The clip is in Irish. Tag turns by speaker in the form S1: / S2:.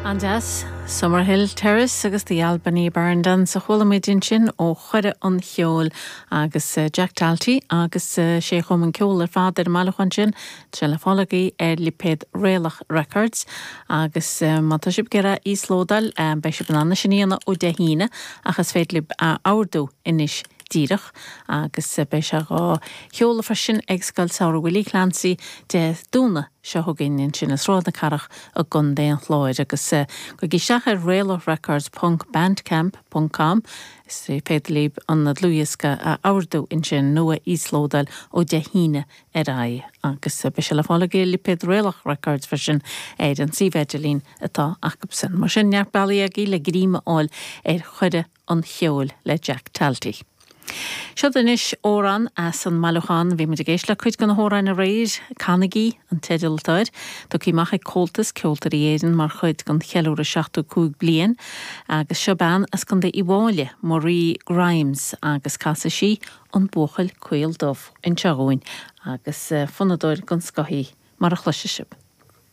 S1: An-deas. Summerhill Terrace agus The Albany Barn Dance a chuala muid ansin ó Chuireadh an Cheoil agus Jack Talty agus sé a chum an ceol ar fad ar an mbailiúchán sin. Tá sé le fáil agaibh ar lipéad Réalach Records agus má tá sibh ag iarraidh íoslódáil beidh sibh in ann é sin a dhéanamh ó Dé hAoine ach is féidir libh a ordú anois díreach agus beidh sé dhá sheoladh freisin ag Scoil Samhraidh Willie Clancy Dé Domhnaigh seo chugainn ansin i Sráid na Cathrach i gContae an Chláir agus gabhaigí isteach ar réalachrecords ponc bandcamp ponc com is féidir libh an dlúthdhiosca a ordú ansin nó a íoslódáil ó Dé hAoine ar aghaidh agus beidh sé le fáil ag lipéad Réalach Records freisin ar an suíomh idirlín atá acusan. Mar sin neart bealaí agaibh le greim a fháil ar Chuireadh an Cheoil le Jack Talty. Seod anois amhrán as an mbailiúchán. Bhí muid ag éisteacht le cuid de na hamhráin aréir, Canaigí an teideal atá air, tugtha amach ag Comhaltas Ceoltóirí Éireann mar chuid den cheiliúradh 75 bliain. Agus seo bean as Contae Uíbh Fhailí, Marie Grimes, agus casfaidh sí An Buachaill Caol Dubh anseo dhúinn agus fonnadóir den scoth í, mar a chloisfidh sibh.